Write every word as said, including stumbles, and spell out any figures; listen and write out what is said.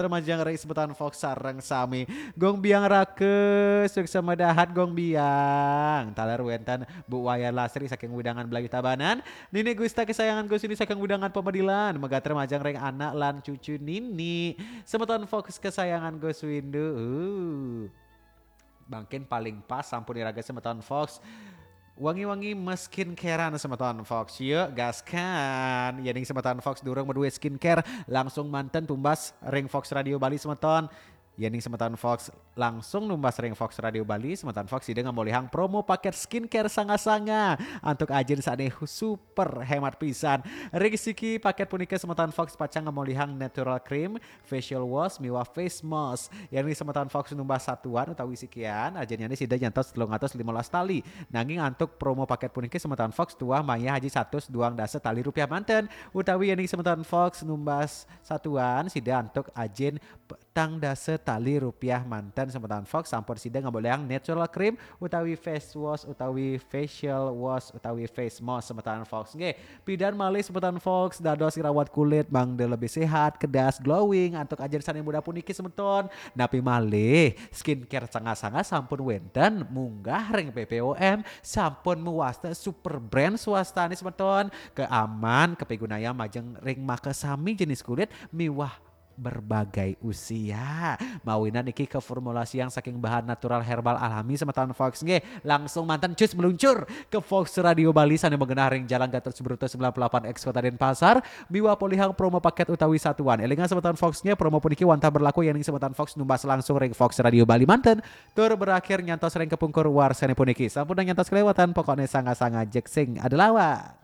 Termajang ring semeton Fox sareng sami. Gong Biang Rake, suksma dahat Gong Biang. Taler wenten Bu Wayan Lasri saking wewidangan Blayu Tabanan. Nini Gusta kesayangan Gus Windu saking wewidangan Pamedilan. Mega termajang ring anak lan cucu Nini. Semeton Fox kesayangan Gus Windu. Uh. Mangkin paling pas sampun iraga semeton Fox. Wangi-wangi ma-skincarean semeton Fox. Yuk, gaskan. Yening semeton Fox durung maduwe skincare, langsung manten tumbas ring Fox Radio Bali semeton. Yening semeton Fox langsung numbas ring Fox Radio Bali, semeton Fox sida ngamolihang promo paket skincare sanga-sanga antuk ajin sane super hemat pisan. Ring siki paket punika semeton Fox pacang ngamolihang natural cream, facial wash, miwah face mask. Yening semeton Fox numbas satuan utawi sikian, ajinnyane sida nyantos telung atus limolas tali. Nanging antuk promo paket puniki semeton Fox tuah mayah ajin satus duang dasa tali rupiah manten. Utawi yening semeton Fox numbas satuan, sida antuk ajin petang dasa tali rupiah manten semeton Fox, sampun sida ngamolihang natural cream utawi face wash utawi facial wash utawi face mask semeton Fox. Nggih, pidan malih semeton Fox dados ngrawat kulit mangda lebih sehat, kedas, glowing antuk ajin sane muda puniki semeton. Napi malih, skincare sanga-sanga sampun wenten munggah ring P P O M, sampun mawasta super brand swastane semeton, keaman, kapigunayang majeng ring makasami jenis kulit miwah berbagai usia. Mawinan niki kaformulasiang saking bahan natural herbal alami semeton Fox nggih. Langsung manten cus meluncur ke Fox Radio Bali sane magenah ring Jalan Gatot Subroto sembilan puluh delapan X Kota Denpasar miwah polihang promo paket utawi satuan. Elingang semeton Fox nggih, promo puniki wantah berlaku yening semeton Fox numbas langsung ring Fox Radio Bali manten tur berakhir nyantos ring kapungkur warsane puniki. Sampun nyantos kelewatan, pokokne sanga-sanga jeksing adelawa.